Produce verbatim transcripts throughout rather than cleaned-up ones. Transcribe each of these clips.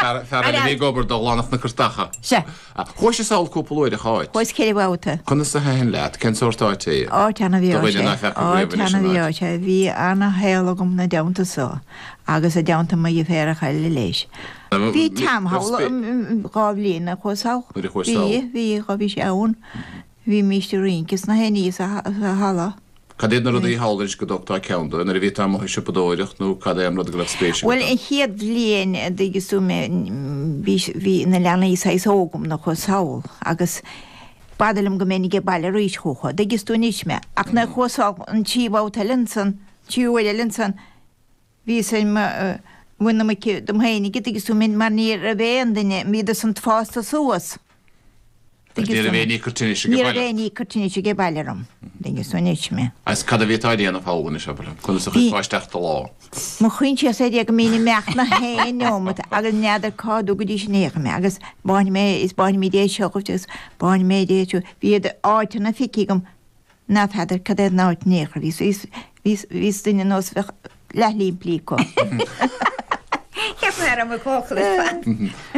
Fear eile a bhí ag obair do Ghlanach na Curtacha. Sea. Chuais sall cúpla uair a Cháit. Chuas ceithre bhabhta. Conas a thaitin leat? Cén sórt áite é? Áit ana-bhreá Do is dhuine ea. ná feaca riamh Áit anois an ana-bhreá áit. is ea. Bhí ana-shaol agam 'na dteannta so agus i dteannta mo dheirféaracha eile leis. Bhí Tam thall dhá bhliain a chuas thall. Nuair a chuais Bhí, sall. bhí, dhá bhí sé ann. Bhímíst ag rince is na héinní sa halla. Cad iad na rudaí thall anois go dtugtá ceann dó? Nuair a bhí tú amuigh ag siopadóireacht nó cad é an rud go raibh spéis agat Bhuel, ann? an chéad bhliain a dtuigeann tú mé, bhí, bhí na leanaí saghas óg agam nuair a chuas thall agus b'fhada liom go mbeinn age baile arís chucu, an dtuigeann tú anois mé. Ach nuair a chuas thall an tríú babhta eile ansan, tríú uair eile ansan, bhíos ar mo, bhain na muice dom féinig, an dtuigeann tú mé, mar ní raibh aon duine, bhíodar san fásta suas. Ní raibh aon ní ag cur tinnis age Ní raibh baile. aon ní ag cur tinnis age baile orm, dtuigeann tú anois mé. Agus cad a bhí tú a dhéanamh thall anois, abair? Conas a chuirfeá isteach do lá? Mo choinsias ar Dhia go mbínn ag imeacht na haon neomat agus n'fheadar cá dtugaidís in aon chor mé agus báin mé is báinimid é seo dhuit agus báin mé é seo. Bhí áiteanna feicthe agam Ná feadar cad é an áit in aon chor. Bhíos, bhíos, bhíos duine nós bheadh leath-limplí acu. Cheap mé a raibh mo chócail ar fad.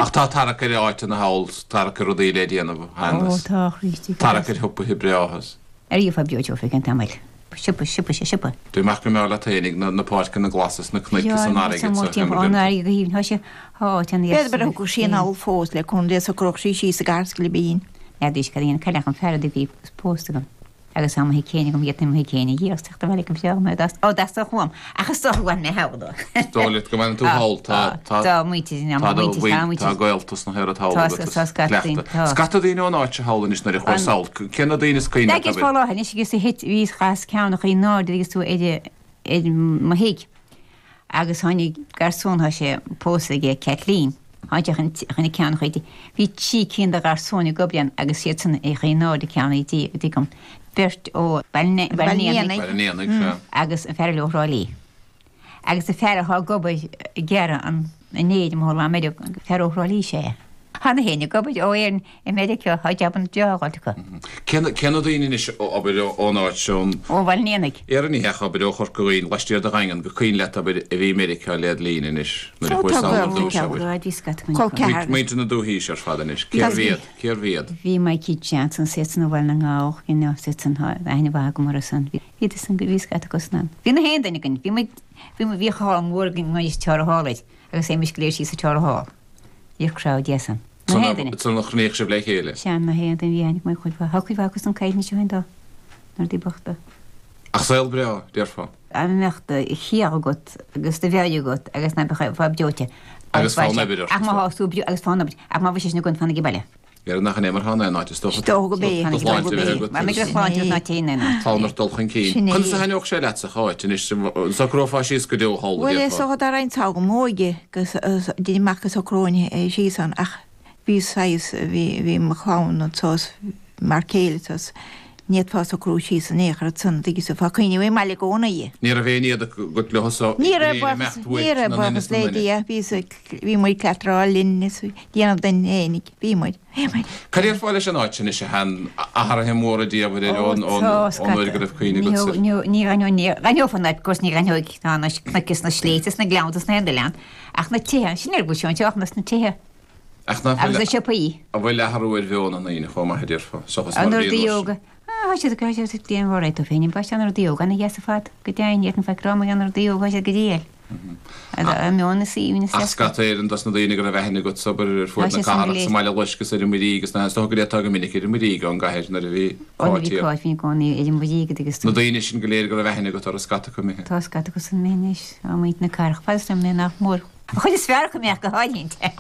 Ach tá tarrac ar áiteanna thall, tarrac ar rudaí le déanamh, Ó, Hannes. tá, a Chríostaí. Tarrac ar shiopaithe breátha. Ar gheofá breoite ó feadh an tamaill. Siopa, siopa, sé siopa. Dé amach go mbeadh leat fhéinig, na, na páirceanna glasa is na cnoic is an fharraige Tá is mór a timpeall an fharraige go haoibhinn. Tá sé, tá áit an B'fhéidir gur thug sí anall fós le cúnamh Dé socródh sí síos i gcathair Scilibín. N'fheadaís cad é an cailleach an fear a bhí pósta agam agus tá mo thigh céanna agam iad na mo thigh céanna dhíreach teacht abhaile go breá mé dá ó dteastódh uaim ach is dócha go bhfanfaidh mé thall dó. Is dóigh leat go bhfanfaidh tú thall tá tá Tá muintir in tá do muintir tá mhuin muintir tá gaolta sna haer thall Tá agat tá is scata daoine cleachtadh. tá. Scata daoine ón áit seo thall anois nuair a chuaigh An sall. Cé na daoine is cuimhin leat Agus fá abair? láthair anois agus a thit bhíos chas ceann a chaoi náirde agus tú ar ar mo thigh agus tháinig garsún tá sé pósta aige Kathleen. Tháinig sé chun chun a ceann a chuid. Bhí trí cinn de gharsúin ag obair ann agus iad san ag in airde ceann a dtí a dtí agam. Beirt ó Baile Baile an Éanaigh Baile an Éanaigh, sea. agus an fear eile ó Thrá Lí. Agus an fear atá ag obair ag gearradh an an fhéir amuigh i Meiriceá, fear ó Thrá Lí is ea é. Tá na héinne ag obair ó Éirinn i Meiriceá, tá jabanna breá á fháilt acu. Cé na cé na daoine anois a obair ón áit seo, ón. Ó Bhaile an Éanaigh. Éireann ní hea, abair ó Chorca Dhuibhne, laistiar de Dhaingean, gur cuimhin leat, abair, a bhí i Meiriceá led linn anois, nuair a Ó, chuaigh tá sall ar gaolta dtús, ceann. abair. Bhí scata againn Col acu. ceathar. Muintir na dúthaí ar fad anois, cérbh iad? Cérbh iad? Bhí Mikey Johnson, siad san ó Bhaile na nGall, you know, siad san, tá aithne mhaith agam orthu san. Bhí san, bhí scata acu san ann. Bhí na haon duine againn, bhí muid, bhí muid, bhí hall mór againn, muid Tara Hall air, agus théimis go léir síos sa Tara Hall. Bhíodh crowd deas ann. Na haon duine. San a chruinníodh sibh le chéile? Sea, na haon duine, bhí aithne agam ar chuid mhaith, tá cuid mhaith acu san caillte anois ó shin dó, na rudaí bochta. Ach saol breá, déarfá. Dá mbeadh do chiall agat agus do mheabhair agat agus ná beifeá breoite. Agus fonn oibre ort. Ach má thá tú breo agus fonn oibre, ach má bhí sé sin agat fan age baile. Dhera nach in é mar atá in aon áit, is dócha. Is dócha go b'é. Do shláinte a bheith agat. Má bheidh do shláinte agat ná téigh in aon áit. Fonn ort dul chun cinn. Sin é. Conas a thaitneodh sé leatsa, a Cháit, anois, an socrófá síos go deo thall, a Bhuel, is déarfá? dócha dá raghainn sall m'óige go dtéinn amach go socróinn síos ann ach bhí saghas, bhí, bhí mo chlann anso is mar chéile anso is ní fhéadfá socrú síos in aon chor ansan, tuigeann tú, bheifeá ag cuimhneamh ar an mbaile i gcónaí. Ní raibh aon éad agat leo so Ní go raibh léir buíochas, imeacht ní uait raibh na nduine buíochas is na le nduine. Dia, bhí, bhí muid cleatará linn is déanamh duinn fhéinig, bhí muid, bhí muid. Cad a déarfá leis an áit anois a Sheáin, athruithe móra diamhair air Ó ón ón tá, ón uair go scata. raibh cuimhne Ní agatsa? ní ní ghainneoidh, ní ghainneofar na, of course ní ghainneoidh, tá na cnoic is na sléibhte is na gleannta is na haon oileán, ach na tithe, sin ar bhfuil seo anseo ach na tithe. Ach nach Agus bhfuil na siopaí. an bhfuil athrú ar mheon na ndaoine chomh maith a déarfá, seachas mar An a rudaí bhí an uair óga. sin? Ah, tá siad, tá siad ag déanamh alright dóibh féin. Ba an rudaí óga ana dheas ar fad, go deimhin, ní fhéadfainn faic a rá mar gheall ar na rudaí óga, tá siad go diail. An meon is aoibhinn is Ach deas. scata Éireann dos na daoine go raibh aithne agat sa obair ar Tá fuaid na siad san go cathrach léir. sa mBaile Loiscthe is ar an Muirígh agus na is dócha go dtéiteá go minic ar an Muirígh ón gcathair nuair a bhí Ó nuair a Cáit bhí thiar. Cáit, bhínn i gcónaí ar an Mhuirígh agus Na daoine sin go léir go raibh aithne agat orthu scata acu imithe. Tá scata acu san imithe anois, á muintir na cathrach, fad is liom mé nach mór. An chuid is fearr acu imithe go háirithe.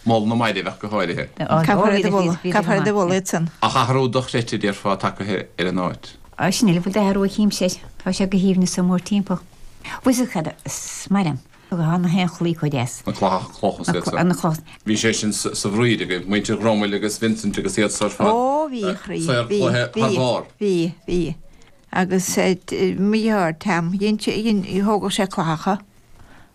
Moladh na mairbh ach go háirithe. Caithfear iad a mholadh, caithfear iad a mholadh iad san. Ach athrú dochreidte déarfá tagtha ar an áit. Á sin uile, bhfuil d'athrú a chímse, tá sé go haoibhinn is mór timpeall. Bhfuil fhios agat cad is maith liom? Tá na haon chlaí chomh deas. Na clocha, clocha is iad san. Na clocha. Bhí sé sin sa bhfríd agaibh, muintir Ghromail agus Vincent agus iad san ar fad. Ó bhí, a chroí, Saor bhí, cloiche bhí, thar barr. bhí, bhí. Agus mo dheartháir Tam, dhein sé, dhein, thógadh sé cloicheacha.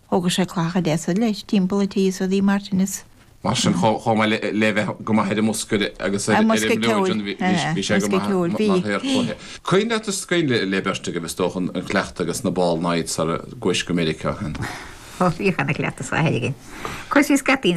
Thógadh sé cloicheacha deasa leis timpeall an tí is rudaí mar sin is. Mar sin, chomh maith le bheith go maith ar an mbosca agus ar an mbliúid, bhí sé go maith mar shaor cloiche. Cuimhin leat is cuimhin le beirt agaibh, is dócha, an cleachtadh agus na ball nights sara gcuais go Meiriceá. Ó, bhíodh ana chleachtadh sa chathair againn. Cuir síos scaití